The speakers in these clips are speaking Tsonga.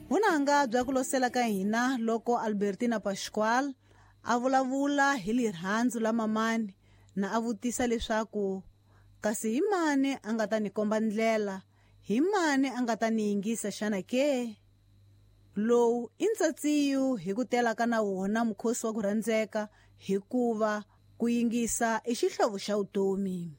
Vunanga bya ku losela ka hina loko Albertina Pascual a vulavula hi lirhandzu la mamani na a vutisa leswaku kasi hi mani a nga ta ni komba ndlela, hi mani a nga ta ni yingisa xana ke? Lowu i ntsatsiyu hi ku tela ka na wona mukhosi wa ku rhandzeka hikuva ku yingisa i xihlovo xa vutomi.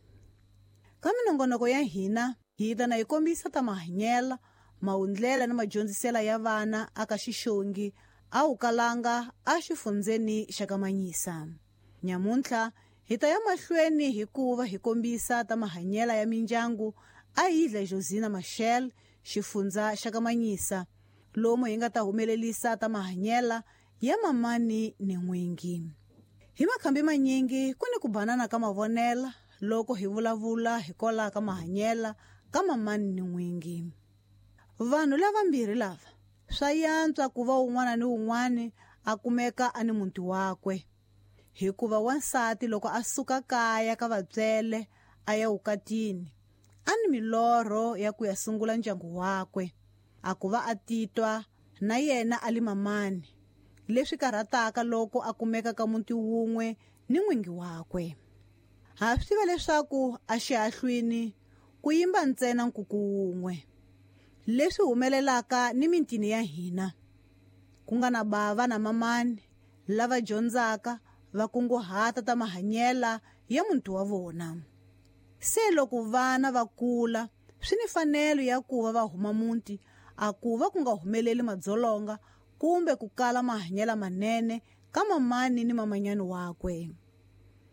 Ka minongonoko ya hina hi ta na hi kombisa ta mahanyela, mawundlela ni madyondzisela ya vana aka xixongi a wu kalanga a xifundzeni xa ka Manyisa. Nyamuntlha hi ta ya mahlweni hikuva hi kombisa ta mahanyela ya mindyangu a yidla Josina Machel xifundza xa ka Manyisa, lomu hi nga ta humelelisa ta mahanyela ya mamani ni n'wingi. Hi makhambi manyingi ku ni ku banana ka mavonela loko hi vulavula hi kola ka mahanyela ka mamani ni n'wingi. Vanhu lavambirhi lava swa yantswa ku va un'wana ni un'wana a kumeka a ni muti wakwe, hikuva wansati loko a suka kaya ka vatswele a ya vukatini a ni milorho ya ku ya sungula ndyangu wakwe, a ku va a titwa na yena a li mamani, leswi karhataka loko a kumeka ka muti wun'we ni n'wingi wakwe. Ha swi tiva leswaku a xihahlwini ku yimba ntsena nkuku wun'we, leswi humelelaka ni mitini ya hina, ku nga na bava na mamani lava dyondzaka va kunguhata ta mahanyela ya muti wa vona. Se loko vana va kula swi ni fanelo ya ku va va huma muti a ku va ku nga humeleli madzolonga kumbe ku kala mahanyela manene ka mamani ni mamanyani wakwe.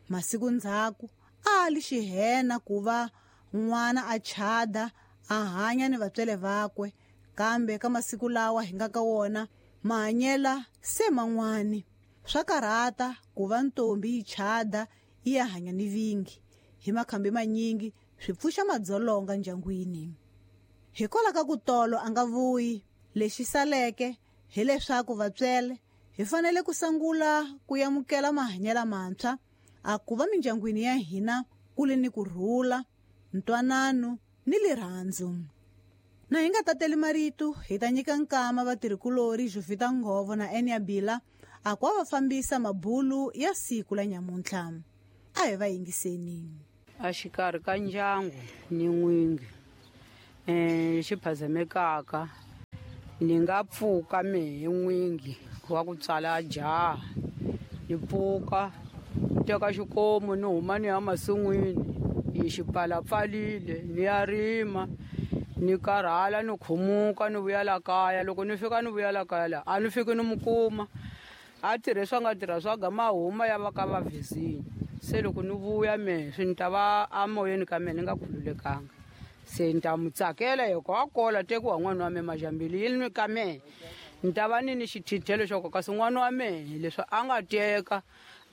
Masiku ndzhaku a li xihena ku va n'wana a chada a hanya ni vatswele vakwe, kambe ka masiku lawa hi nga ka wona mahanyela se man'wani. Swa karhata ku va ntombi yi chada yi ya hanya ni vingi, hi makhambi manyingi swi pfuxa madzolonga ndyangwini. Hikwalaho ka ku tolo a nga vuyi, lexi saleke hileswaku vatswele hi fanele ku sungula ku amukela mahanyela mantshwa a ku va mindyangwini ya hina ku li ni kurhula, ntwanano ni lirhandzu. Na hi nga tateli marito, hi ta nyika nkama vatirhikulori Jovita Nghovo na Enia Bila a ku va fambisa mabulu ya siku la nyamuntlha. A hi va yingiseni. A xikarhi ka ndyangu ni n'wingi xi phazamekaka, ni nga pfuka mehe n'wingi wa ku tswala jaha, ni pfuka teka xikomu ni huma ni ya masin'wini, yi xi pfalapfalile ni ya rima, ni karhala ni khumuka ni vuya la kaya. Loko ni fika ni vuya la kaya la a ni fiki ni mu kuma, a tirhe swa nga tirha swa gama huma ya va ka va vezini. Se loko ni vuya mehe swi ni ta va amoyeni ka mehe ni nga khululekanga, se ni ta mu tsakela hi ku a kola tekiwa n'wana wa mehe majambili yi ni ka mehe, ni ta va ni ni xithithelo xo kasi n'wana wa mehe leswi a nga teka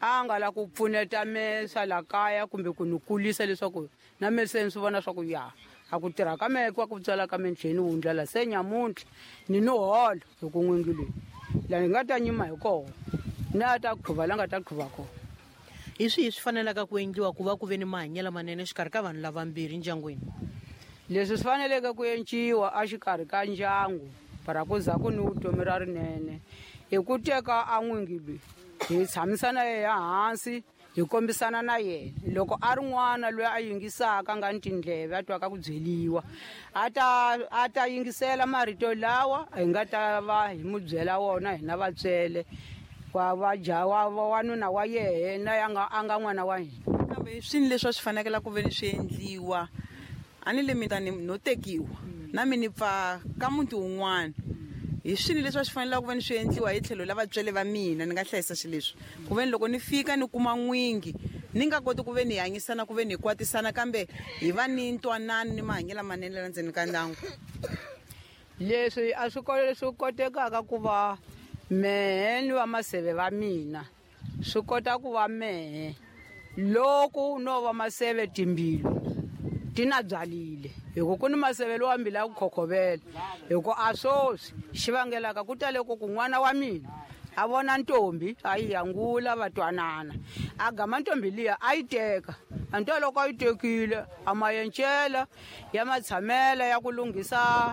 a nga la ku pfuneta mehe swa la kaya kumbe ku ni kulisa leswaku na mehe se ni swi vona swa ku ya a ku tirha ka mehe kwa ku tswala ka mehe ni tlhela ni wundla se nyamuntlha ni ni hola hi ku n'wingi loyi la ni nga ta nyima hi kona na ta qhuva la nga ta qhuva kona. Hi swihi swi fanelaka ku endliwa ku va ku ve ni mahanyelo manene exikarhi ka vanhu lavambirhi ndyangwini? Leswi swi faneleke ku enciwa exikarhi ka ndyangu para ku za ku ni vutomi ra rinene i ku teka a n'wingi loyi hi tshamisana yena hansi, hi kombisana na yena. Loko a ri n'wana loyi a yingisaka nga ni tindleve a twaka ku byeliwa, a ta yingisela marito lawa hi nga ta va hi mu byela wona hina vatswele wa va ja wa wanuna wa yena ya nga a nga n'wana wa hina. Kambe swini leswi a swi fanekela ku ve ni swi endliwa a ni le mi ta ni no tekiwa na mi ni pfa ka muti wun'wana, hi swini leswi a swi fanelaka ku ve ni swi endliwa hi tlhelo la vatswele va mina ni nga hlayisa xileswi ku ve ni loko ni fika ni kuma n'wingi ni nga koti ku ve ni hanyisana ku ve ni kwatisana, kambe hi va ni ntwanano ni mahanyelo lamanene la ndzeni ka ndyangu. Leswi a swi swi kotekaka ku va mehe ni va maseve va mina swi kota ku va mehe loko no va maseve timbilu ti na byalile, hi ku ku ni maseve lowa mbilu ya ku khokhovela, hi ku a swoswi xi vangelaka ku tale ku ku n'wana wa mina a vona ntombi a yi yangula va twanana, a gama ntombi liya a yi teka, a nto loko a yi tekile a mayencela ya matshamela ya ku lunghisa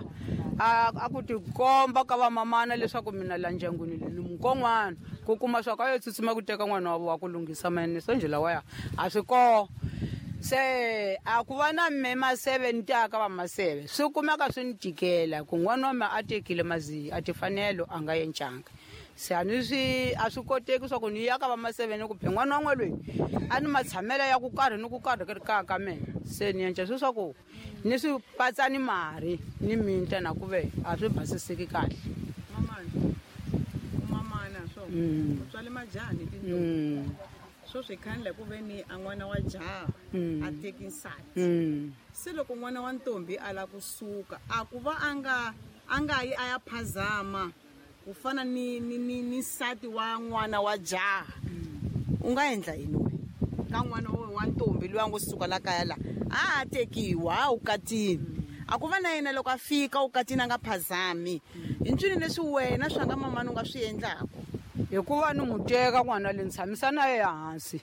A ku tikomba ka vamamana leswaku mina la ndyangwini ni mukon'wana ku kuma swa ka yo tsutsuma ku teka n'wana wa ku lunghisa mayeniso njhe lawaya a swi koho. Se a ku va na me maseve ni tiyaka va maseve swi kumeka swi ni tikela ku n'wana wa me a tekile maziya a tifanelo a nga yencanga. Se a ni swi a swi koteki swa ku ni ya ka va maseve ni ku phe n'wana wa n'we loyi a ni matshamelo ya ku karhi ni ku karhi ka ka mina. Se ni yenca swi swa ku ni swi patsa ni mari ni minta na ku ve a swi basiseki kahle. Mamana swo u tswale majaha ni tintombi. Swo swi khandla ku ve ni a n'wana wa jaha a teki nsati. Se loko n'wana wa ntombi a la kusuka a ku va a nga yi a ya phazama ku fana ni ni ni ni nsati wa n'wana wa jaha. U nga endla yini we ka n'wana wa ntombi loyi a ngo suka la kaya la a tekiwa u katini a ku va na yena loko a fika u katini a nga phazami hi ncini leswi wena swa nga mamani u nga swi endlaka? Hikuva ni n'wi teka n'wana le ni tshamisa na yena hansi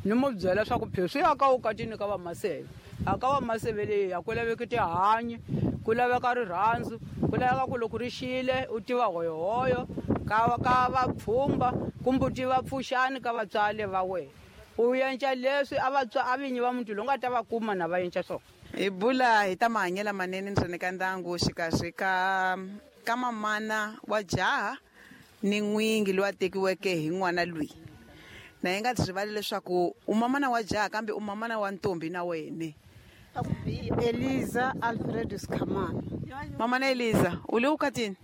ni n'wi byela swa ku pheswi ya ka u katini ka vamaseve a ka vamaseve leyi a ku laveki tihanyi, ku laveka rirhandzu, ku laveka ku loko ri xile u tiva hoyohoyo ka vapfhumba kumbe u tiva pfuxani ka vatswari va wena. U yenca leswi a vatswari a vinyi va muti lowu nga ta va kuma na va yenca swona. Hi bula hi ta mahanyelo manene ndzeni ka ndyangu xikarhi ka mamana wa jaha ni n'wingi loyi a tekiweke hi n'wana loyi. Na hi nga rivali leswaku u mamana wa jaha kambe u mamana wa ntombi na wena. Eliza Alfred Skhamana. Mamana Eliza, u le ukatini?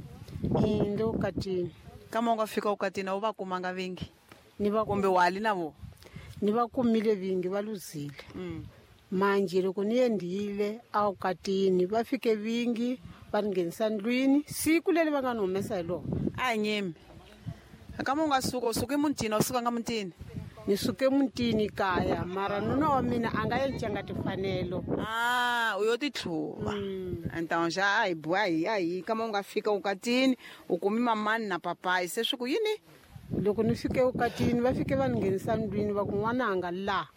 Ndi ukatini. Kama u nga fika ukatini a wu va kumanga vingi? Ni va kumbe wa li na vo? Ni va kumile vingi va luzile. Manje loko ni endlile a ukatini va fike vingi va ni nghenisa ndlwini siku leri va nga ni humesa hi lona. A hi nyimi. Kama u nga suka u suke mutini a wu sukanga mutini? Ni suke mutini kaya mara nuna wa mina a nga yencanga tifanelo. U yo titlhuva. Então já a hi bua hi a hi kama u nga fika ukatini u kumi mamani na papayi se swi ku yini? Loko ni fike ukatini va fike va ni nghenisa ndlwini va ku n'wananga la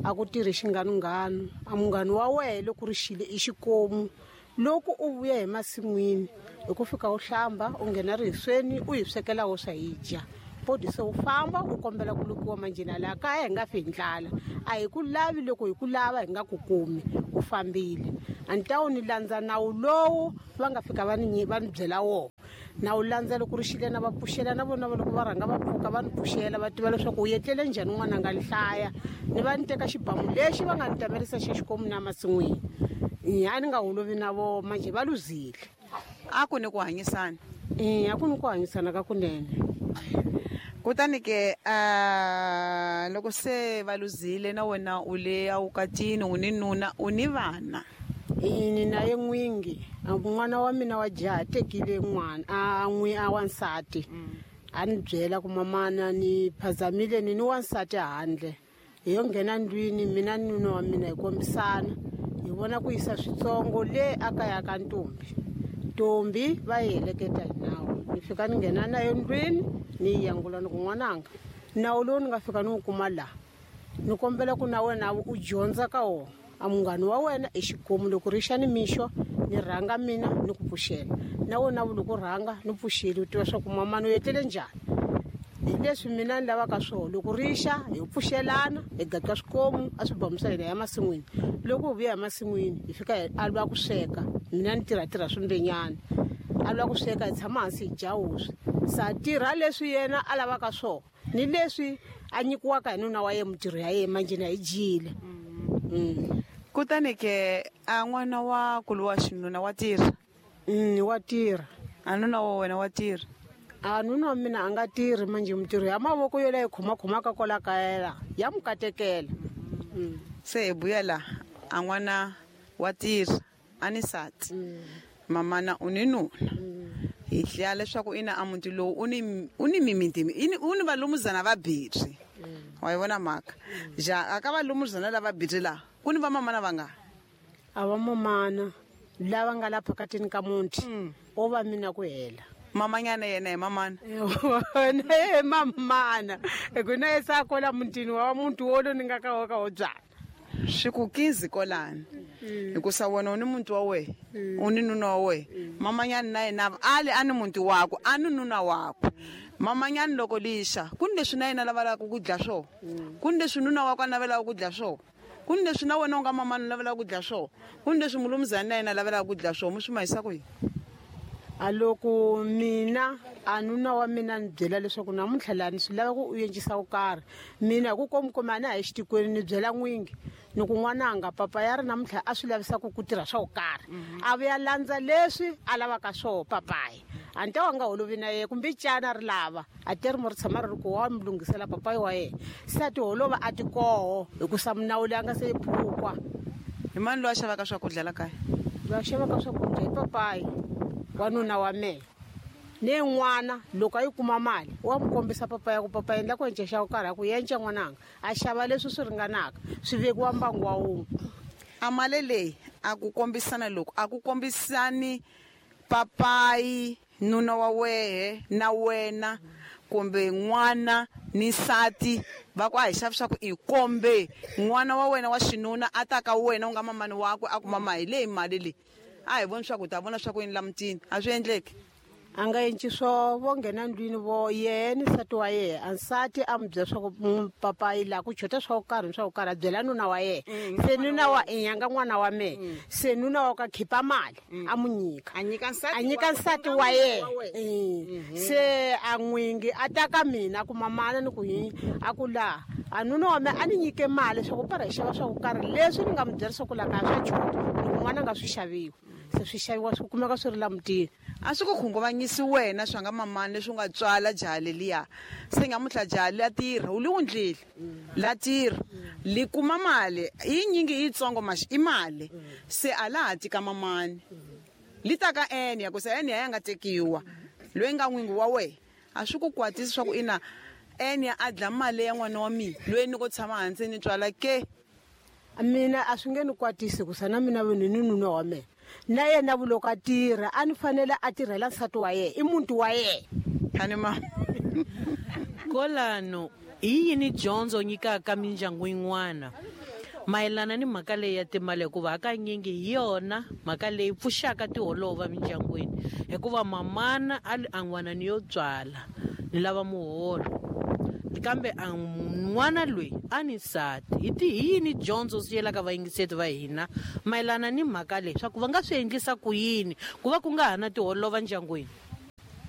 a ku tirhi xinganunghanu a munghanu wa wehe loko ri xile i xikomu loko u vuya hi masin'wini hi ku fika u hlamba u nghena rihisweni u hi swekela wo swa hi dya. Podi se u famba u kombela ku lukiwa manjhena laha kaya hi nga fi hi ndlala a hi ku lavi loko hi ku lava hi nga ku kumi u fambile. A ni ta wu ni landza nawu lowu va nga fika va ni byela wona. Na wu landza loko ri xile na va pfuxela na vona loko va rhanga va pfuka va ni pfuxela va tiva leswaku u etlele njhani n'wana nga ni hlaya ni va ni teka xibamu lexi va nga ni tamerisa xa xikomu na masin'wini. A ni nga holovi na vo manje va luzile. A ku ni ku hanyisana? A ku ni ku hanyisana ka kunene. Kutani ke loko se va luzile na wena u le awukatini u ni nuna u ni vana? Ni na ye n'wingi n'wana wa mina wa jaha tekile n'wana a n'wi a wansati a ni byela ku mamana ni phazamile ni wansati handle hi yo nghena ndlwini mina ni nuna wa mina hi kombisana hi vona ku yisa switsongo le a kaya ka ntombi. Ntombi va yi heleketa hi nawu ni fika ni nghena na yo ndlwini ni yi yangula ni ku n'wananga nawu lowu ni nga fika ni wu kuma laha ni kombela ku na wena u dyondza ka wona a munghana wa wena i xikomu loko ri xa ni mixo ni rhanga mina ni ku pfuxela na wena loko rhanga ni pfuxeli u tiva swa ku mamana u etlele njhani. Hi leswi mina ni lavaka swona loko ri xa hi pfuxelana hi gaqa swikomu a swi bamusa hina ya masin'wini loko hi vuya hi masin'wini hi fika hi alwa ku sweka mina ni tirhatirha swimbenyana a lwa ku sweka hi tshama hansi hi dya wuswi sa tirha leswi yena a lavaka swona ni leswi a nyikiwaka hi nuna wa ye mitirho ya yena manjhena hi dyile. Kutani ke a n'wana wa kulu wa xinuna wa tirha? Wa tirha. A nuna wa wena wa tirha? A nuna wa mina a nga tirhi manje mitirho ya mavoko yo leyi khomakhomaka kwala kaya la ya mu katekela. Se hi buya la a n'wana wa tirha a ni nsati mamana u ni nuna hi hlaya leswaku ina a muti lowu u ni mimiti u ni valumuzana va biri. Wa yi vona mhaka ja a ka valumuzana lava biri laha ku ni vamamana va nga? A vamamana lava nga la phakatini ka muti o va mina ku hela. Mamanyana yena hi mamana? Na ye mamana hi ku na ye sa kwala mutini wa muti wolo ni nga ka wo ka wo byala. Swi ku kizi kolani. Hikusa wena u ni muti wa wena, u ni nuna wa wena. Mamanyani na yena ali a ni muti wakwe, a ni nuna wakwe. Mamanyani loko lixa, ku ni leswi na yena lavelaka ku dya swona. Ku ni leswi nuna wakwe a navelaka ku dya swona. Ku ni leswi na wena u nga mamani u navelaka ku dya swona. Ku ni leswi mulumuzani na yena a lavelaka ku dya swona. Mi swi mahisa ku yini? A loko mina a nuna wa mina ni byela leswaku namuntlha laha ni swi lava ku u encisa ku karhi, mina hi ku komukoma a na ha yi xitikweni, ni byela n'wingi ni ku n'wananga papa ya ri namuntlha a swi lavisaka ku tirha swa ku karhi, a vuya landza leswi a lavaka swoho papayi. A ni ta wa nga holovi na yena kumbe cana ri lava a teri mo ri tshama ri ri ku wa mi lunghisela papayi wa yena, se a ti holova a ti koho hikusa minawu leyi a nga se yi phukwa. Hi mani loyi a xavaka swakudya la kaya? Loyi a xavaka swakudya i papayi wa nuna wa mehe. Ni n'wana loko a yi kuma mali wa n'wi kombisa papa ya ku papa endla ku enca xa ku karhi, a ku yenca n'wananga, a xava leswi swi ringanaka swi vekiwa mbangu wa wun'we. A mali leyi a ku kombisana loko a ku kombisani papayi nuna wa wehe na wena kumbe n'wana ni nsati va ku a hi xavi swa ku i kombe n'wana wa wena wa xinuna a ta ka wena u nga mamani wakwe a ku mama hi leyi mali leyi a hi voni swa ku ta vona swa ku yini la mutini, a swi endleki. A nga enci swo vo nghena ndlwini vo yehe ni nsati wa yehe, a nsati a n'wi byela swa ku papayi laha ku chota swa ku karhi ni swa ku karhi, a byela nuna wa yehe. Se nuna wa i nga n'wana wa mehe, se nuna wa ka khipa mali a n'wi nyika, a nyika nsati a nyika nsati wa yehe. Se a n'wingi a ta ka mina ku mamana ni ku yini, a ku laha a nuna wa mehe a ni nyike mali swa ku para hi xava swa ku karhi leswi ni nga n'wi byela swa ku laha kaya swa chota, ni ku n'wana a nga swi xaviwi, se swi xaviwa swi kumeka swi ri la mutini. A swi ku khunguvanyisi wena swa nga mamani leswi u nga tswala jaha leliya, se nyamuntlha jaha la tirha u li wundlile la tirha li kuma mali yi nyingi yitsongo maxi i mali, se a la ha tika mamani li ta ka ene ya ku se ene ya nga tekiwa loyi nga n'wingi wa wena. A swi ku kwatisi swa ku ina ene a dla mali ya n'wana wa mina loyi ni ko tshama hansi ni tswala ke? Mina a swi nge ni kwatisi hikusa na mina vanhu ni nuna wa mina na yena vuloko a tirha a ni fanele a tirhela nsati wa yena, i muti wa yena. Ani ma Kolano hi yini dyondzo nyikaka mindyangu yin'wana mayelana ni mhaka leyi ya timali, hikuva hakanyingi hi yona mhaka leyi pfuxaka tiholova mindyangwini, hikuva mamana a li a n'wana ni yo tswala ni lava muholo, kambe a n'wana loyi a ni nsati. Hi ti hi yini dyondzo swi yelaka vayingiseti va hina mayelana ni mhaka leyi, swa ku va nga swi endlisa ku yini ku va ku nga ha na tiholova ndyangwini?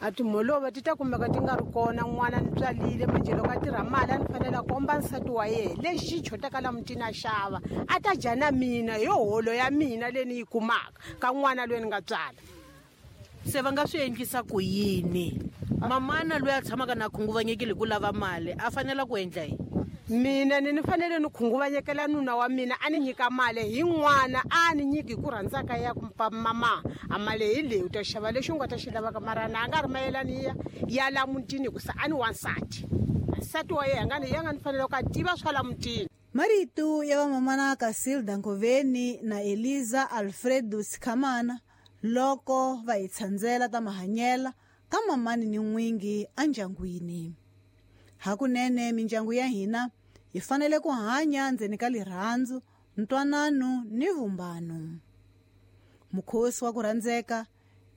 A timholova ti ta kumeka ti nga ri kona, n'wana ni tswalile manjhe loko a tirha mali a ni fanele a komba nsati wa yena lexi xi chotaka la mutini a xava a ta dya na mina hi holo ya mina leyi ni yi kumaka ka n'wana loyi ni nga tswala. Se va nga swi endlisa ku yini? Mamana loyi a tshamaka na khunguvanyekile hi ku lava mali a fanela ku endla yini? Mina ni fanele ni khunguvanyekela nuna wa mina a ni nyika mali hi n'wana a ni nyiki hi ku rhandza ka ya ku mama a mali hi leyi u ta xava lexi u nga ta xi lavaka, mara na a nga ri mayelani ya la mutini hikusa a ni wansati, nsati wa yena ya nga ni fanele ku a tiva swa la mutini. Marito ya vamamana Casilda Nkoveni na Eliza Alfredo Sikhamana loko va hi tshandzela ta mahanyela ka mamani ni n'wingi endyangwini. Hakunene mindyangu ya hina hi fanele ku hanya ndzeni ka lirhandzu, ntwanano ni vumbano. Mukhosi wa ku rhandzeka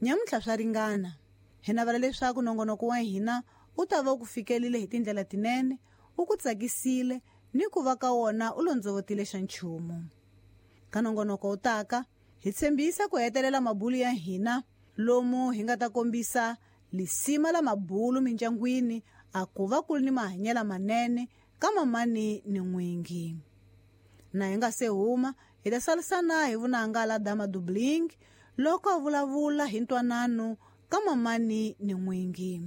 nyamuntlha swa ringana. Hi navela leswaku nongonoko wa hina u ta va u ku fikelile hi tindlela tinene, u ku tsakisile ni ku va ka wona u londzovotile xa nchumu. Ka nongonoko wu taka hi tshembisa ku hetelela mabulu ya hina lomu hi nga ta kombisa lisima la mabulu mindyangwini a ku va ku ri ni mahanyelo manene ka mamani ni n'wingi. Na hi nga se huma hi ta salisana hi vunanga la Dama Dubling loko a vulavula hi ntwanano ka mamani ni n'wingi.